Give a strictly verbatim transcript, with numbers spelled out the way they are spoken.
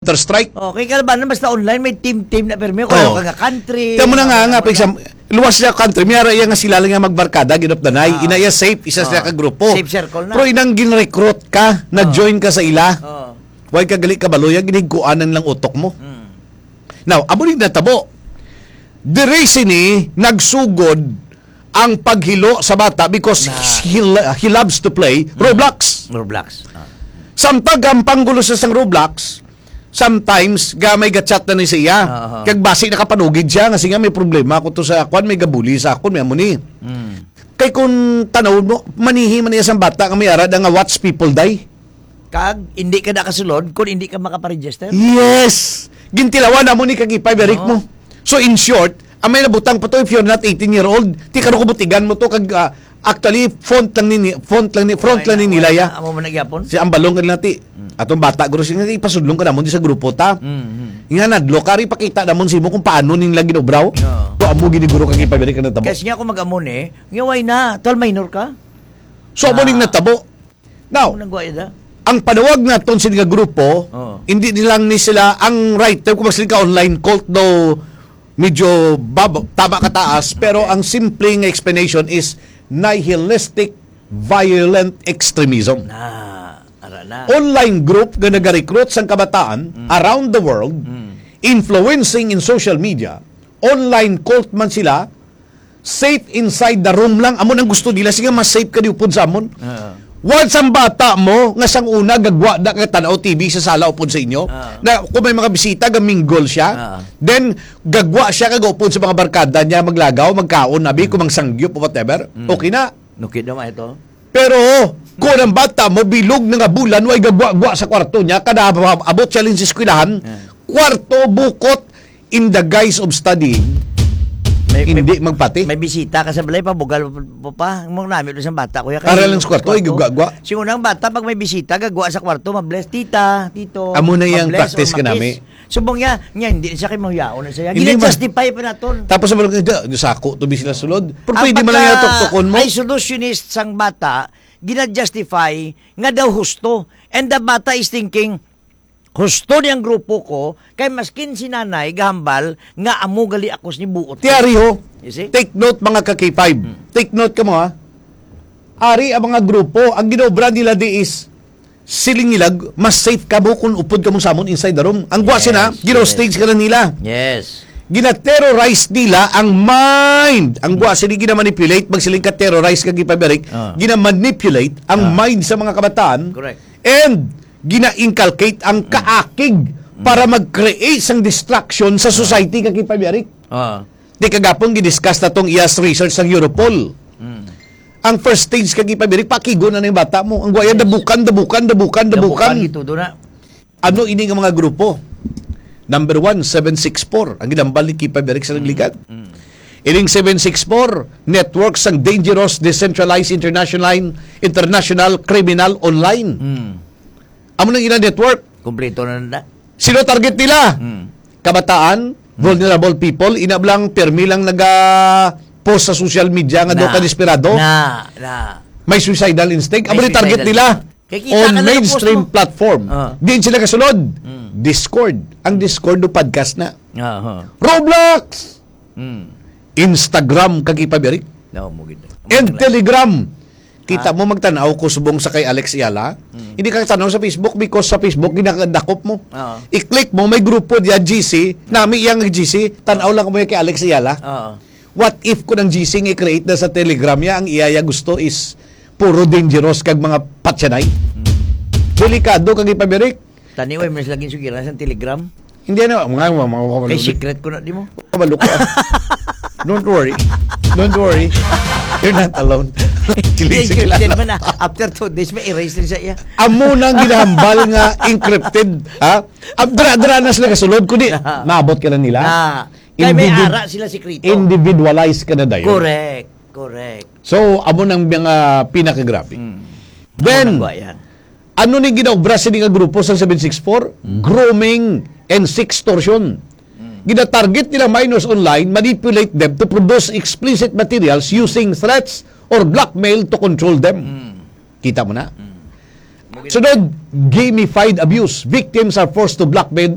Counter-Strike. Oh, kay kalabanan, basta online, may team-team na pirmi. Kaya Oh. ka nga country, Kaya mo na nga, mga nga, for wala. example, luwas siya country, may ara iya nga sila lang nga magbarkada, gid of the night. Ah. Ina iya safe, isa siya Ah. ka grupo. Safe circle na. Pero inang gin-recruit ka, Ah. nag-join ka sa ila. Oh. Why ka gali kabalo, yung ginigkuanan lang utok mo. Mm. Now, amo ni natabo. Diri sini nagsugod ang paghilo sa bata because Na he, he loves to play Mm. Roblox. Roblox. Ah. Samtang gampang gulo sa sang Roblox, sometimes ga may ga-chat na ni siya. Aha. Kag basi nakapanugid siya nga siya may problema ko to sa akwan, may gabuli sa akon, may amo ni. Mm. Kay kung tanawon mo, manihi man iya sang bata nga may arad nga watch people die. Kag hindi ka nakasulod kung hindi ka makaparegister? Yes! Gintilawan namo ni kag ipay, Eric Oo. mo. So, in short, ang may nabutang pa to, if you're not eighteen year old, ti karo ko butigan mo to, kag, ah, actually, font lang ni, font lang ni, front Ay, lang ni na, nila, wala ya. na. Amo man nagyapon? Si Ambalong ka nila, ti. Mm. Atong bata, guro, siya, ipasudlong ka namon di sa grupo ta. Mm, mm. Nga nadlo, kari pakita namon simo kung paano ning lagi obraw. Oo. To amo gini, guro, kag ipabalik ka na tabo. Kasi nga ako mag-amo ni, nga why na? Tol, minor ka? So, amo ning Ah. natabo. Now, Ano nang guwaya da? ang panawag naton sini nga grupo, Oo. hindi nilang ni sila ang right term kung mas ka online cult daw medyo bab-, tama ka taas, pero Okay. ang simple nga explanation is nihilistic violent extremism. Na, ara na. Online group nga nagarecruit sang kabataan Mm. around the world, Mm. influencing in social media, online cult man sila, safe inside the room lang. Amo nang gusto nila. Sige, mas safe ka di upod sa amon. Ah. Once ang bata mo, nga sang una, gagwa na kay tanaw T V sa sala upod sa inyo, Ah. na kung may mga bisita, gaminggol siya, Ah. then gagwa siya kag upod sa mga barkada niya, maglagaw, magkaon, abi, Mm. kung mangsangyup o whatever, Mm. okay na. Nukid naman ito. Pero, kung ang bata mo, bilog na nga bulan, way gagwa-gwa sa kwarto niya, kada ab-, abot siya lang sa eskwelahan, Ah. kwarto, bukot, in the guise of studying, May, may, hindi magpati. may bisita ka sa balay, pabugal mo pa. Ang mga namit sa bata, kuya, Para kay lang sa kwarto, kwarto. Igugagwa. Siguro ang bata, pag may bisita, gagwa sa kwarto, mabless, tita, tito, Amo na yung mabless practice or ka nami. makis. Subong niya, niya, hindi siya kay mahuyaon na siya. Hindi ma- Gina-justify pa naton. Tapos, ang mga, "Ito, sako, to, bi sila sulod." Pero Ang pwede man lang pagka yung tuktukon mo. isolationist sang bata, gina-justify nga daw husto. And the bata is thinking, "Husto ni ang grupo ko, kay maskin si nanay gahambal nga amo gali ako ni buot." Tiyari ho, You see? take note, mga ka-K five. Hmm. Take note ka mo, ha? Ari ang mga grupo, ang ginobra nila di is, siling nila, mas safe ka mo kung upod ka mo sa amon inside the room. Ang guwa Yes, sina, gino-stage yes. ka na nila. Yes. Gina-terrorize nila ang mind. Ang guwa sila gina-manipulate, magsiling ka terrorize ka gipabirik, Ah. gina-manipulate ang Ah. mind sa mga kabataan. Correct. And gina-inculcate ang Mm. kaakig Mm. para mag-create sang distraction sa Ah. society ka gipabirik. Ah. Di kagapon gidiscuss na tong iyas research sang Europol. Mm. Ang first stage kag ipabirik, pakigo na ning bata mo. Ang guwaya, Yes. dabukan, dabukan, dabukan, Dabukan dabukan. gitudo na. Ano ini nga mga grupo? Number one, seven six four. Ang ginambal ni Kipa Birik sa Mm. nagligad. Mm. Ining seven six four, network sang dangerous, decentralized, international, international criminal online. Mm. Amo nang ina network. Kompleto na na. Sino target nila? Mm. Kabataan, Mm. vulnerable people, ina lang, permi lang naga-post sa social media nga daw Na. ka desperado. Na, na. May suicidal instinct. May Amo ni target suicidal nila. instinct. Kay kita On ka na mainstream nag-post mo. platform. Ah. Diin sila kasulod? Mm. Discord. Ang Discord do podcast na. Aha. Roblox! Mm. Instagram, kag ipabirik. No, mo gid. And Ang Telegram. Kita Ah. mo, magtanaw ko subong sa kay Alex Ayala. Mm. Hindi ka tanaw sa Facebook because sa Facebook, ginadakop mo. Oo. I-click mo, may grupo diya, G C. Nami iyang G C, tanaw lang mo yung kay Alex Ayala. Oo. What if ko ng G C nga i-create na sa Telegram niya, ang iya, iya gusto is puro dangerous kag mga patyanay? Mm. Delikado kag ipabirik. Tani, way, mas laging sugiran sa Telegram. Hindi, ano, mga, mga, mga, mga, Kay secret ko na, di mo? Kabalo ka. Don't worry. Don't worry. You're not alone. Kilig sa Encrypted kilala. man na. After two days, may erase rin sa iya. Amo nang ginahambal nga encrypted, ha? Abdra-dra na sila kasulod, kundi Na. maabot ka na nila. Na. Kaya may Individ-, ara sila sikreto. individualized ka na dayon. Correct. Correct. So, amo nang mga pinakagrabe. Mm. Then, Amo nang yan. ano ni ginaobra sini nga grupo sa seven six four? Mm. Grooming and sextortion. Mm. Gina-target nila minors online, manipulate them to produce explicit materials using threats or blackmail to control them. Mm. Kita mo na? Mm. Mo gid- Sunod, gamified abuse. Victims are forced to blackmail